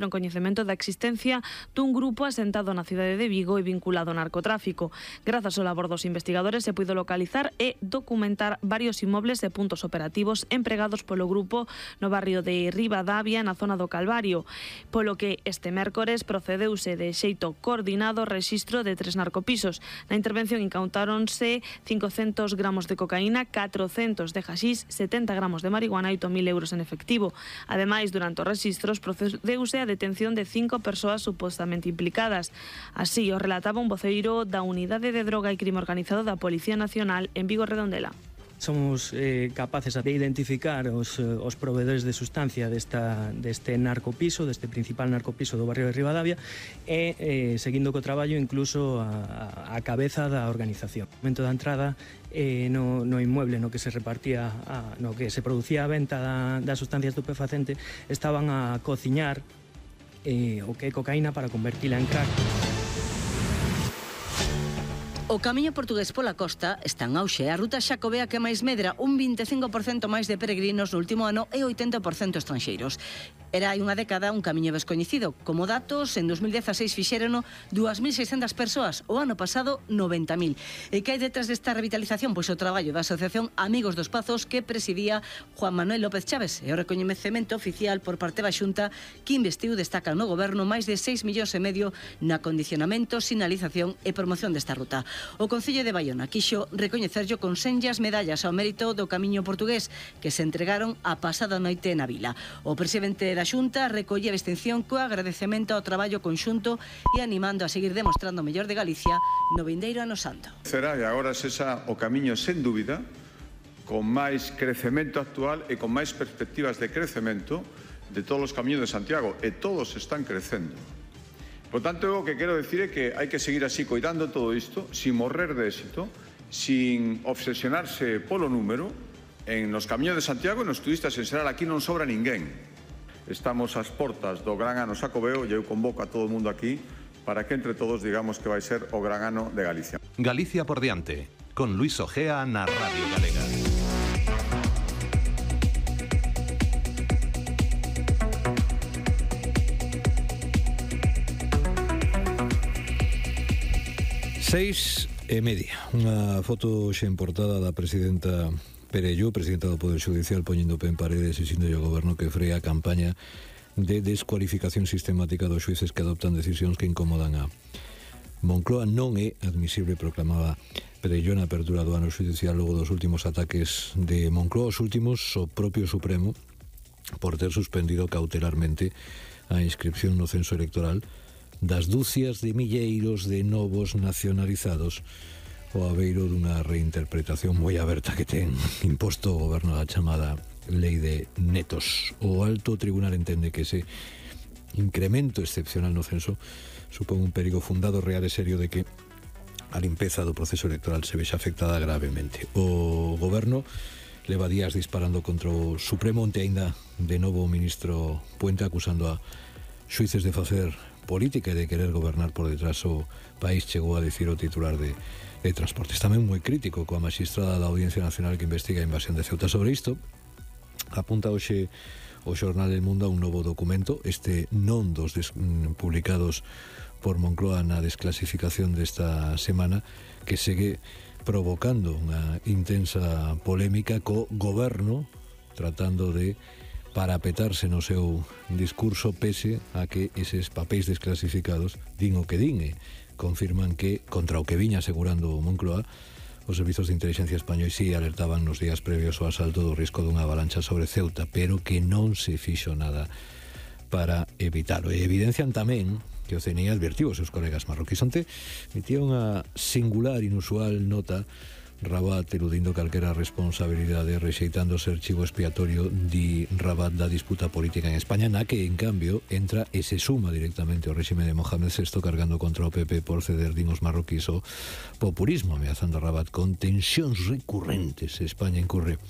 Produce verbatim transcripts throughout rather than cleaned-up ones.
no coñecemento da existencia dun grupo asentado na cidade de Vigo e vinculado ao narcotráfico. Grazas ao labor dos investigadores se puido localizar e documentar varios inmobles e puntos operativos empregados polo grupo no barrio de Ribadavia, na zona do Calvario, polo que este mércores procedeuse de xeito coordinado o rexistro de tres narcopisos. Na intervención incautáronse cincocentos gramos de cocaína, catrocentos de haxís, setenta gramos de marihuana e oito mil euros en efectivo. Ademais, durante os rexistros procedeuse a detención de cinco persoas supostamente implicadas. Así o relataba un voceiro da Unidade de Droga e Crime Organizado da Policía Nacional en Vigo Redondela. Somos eh, capaces de identificar os, os proveedores de sustancia desta, deste narcopiso, deste principal narcopiso do barrio de Ribadavia e, eh, seguindo co traballo, incluso a, a cabeza da organización. No momento da entrada eh, no, no inmueble no que se repartía, a, no que se producía a venta da, da sustancia estupefacente, estaban a cociñar eh, o que é cocaína para convertila en crack. O camiño portugués pola costa está en auxe. A ruta xacobea que máis medra, un vinte e cinco por cento máis de peregrinos no último ano e oitenta por cento estranxeiros. Era hai unha década un camiño descoñecido. Como datos, en dos mil dieciséis fixérono dúas mil seiscentas persoas, o ano pasado noventa mil. E que hai detrás desta revitalización? Pois o traballo da Asociación Amigos dos Pazos que presidía Juan Manuel López Chaves e o recoñecemento oficial por parte da Xunta que investiu, destaca no goberno, máis de seis millóns e medio na acondicionamento, sinalización e promoción desta ruta. O Concello de Baiona quixo recoñecerllo con senllas medallas ao mérito do camiño portugués que se entregaron a pasada noite na vila. O presidente da Xunta recolle a distinción co agradecemento ao traballo conxunto e animando a seguir demostrando o mellor de Galicia no vindeiro ano santo. Será e agora sexa o camiño sen dúbida con máis crecemento actual e con máis perspectivas de crecemento de todos os camiños de Santiago e todos están crecendo. Por tanto, o que quero decir é que hai que seguir así coidando todo isto, sin morrer de éxito, sin obsesionarse polo número. En nos camiños de Santiago e nos turistas en xeral aquí non sobra ninguén. Estamos ás portas do gran ano xacobeo e eu convoco a todo o mundo aquí para que entre todos digamos que vai ser o gran ano de Galicia. Galicia por diante, con Luis Ojea na Radio Galega. Seis e media. Unha foto xe en portada da presidenta Perello, presidenta do Poder Judicial, poñendo pé en paredes e exixindo ao goberno que free a campaña de descualificación sistemática dos xuíces que adoptan decisións que incomodan a Moncloa. Non é admisible, proclamaba Perello na apertura do ano judicial logo dos últimos ataques de Moncloa, os últimos o propio Supremo por ter suspendido cautelarmente a inscripción no censo electoral das dúcias de milleiros de novos nacionalizados o aveiro dunha reinterpretación moi aberta que ten imposto o goberno da chamada lei de netos. O alto tribunal entende que ese incremento excepcional no censo supón un perigo fundado, real e serio de que a limpeza do proceso electoral se vexa afectada gravemente. O goberno leva días disparando contra o Supremo, onte aínda de novo o ministro Puente acusando a xuíces de facer política e de querer gobernar por detrás o país, chegou a dicir o titular de de Transportes. Tamén moi crítico coa magistrada da Audiencia Nacional que investiga a invasión de Ceuta. Sobre isto apunta hoxe o xornal El Mundo a un novo documento, este non dos des, publicados por Moncloa na desclasificación desta semana, que segue provocando unha intensa polémica co goberno tratando de parapetarse no seu discurso pese a que eses papéis desclasificados din o que din e confirman que, contra o que viña asegurando Moncloa, os servizos de inteligencia españois si alertaban nos días previos ao asalto do risco dunha avalancha sobre Ceuta, pero que non se fixo nada para evitalo. E evidencian tamén que o C N I advertiu os seus colegas marroquíes. Onte emitía unha singular, inusual nota Rabat eludindo calquera responsabilidade, rexeitando ser chivo expiatorio di Rabat da disputa política en España, na que, en cambio, entra e se suma directamente ao réxime de Mohamed sexto cargando contra o P P por ceder din os marroquíes o populismo, ameazando a Rabat con tensións recurrentes. España incurre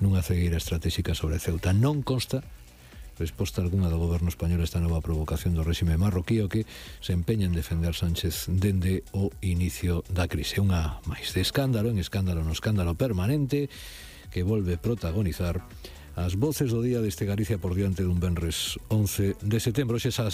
nunha cegueira estratégica sobre Ceuta. Non consta resposta algunha do goberno español a esta nova provocación do réxime marroquí, o que se empeña en defender Sánchez dende o inicio da crise. Unha máis de escándalo, en escándalo no escándalo permanente, que volve protagonizar as voces do día deste Galicia por diante dun venres once de setembro. Xesas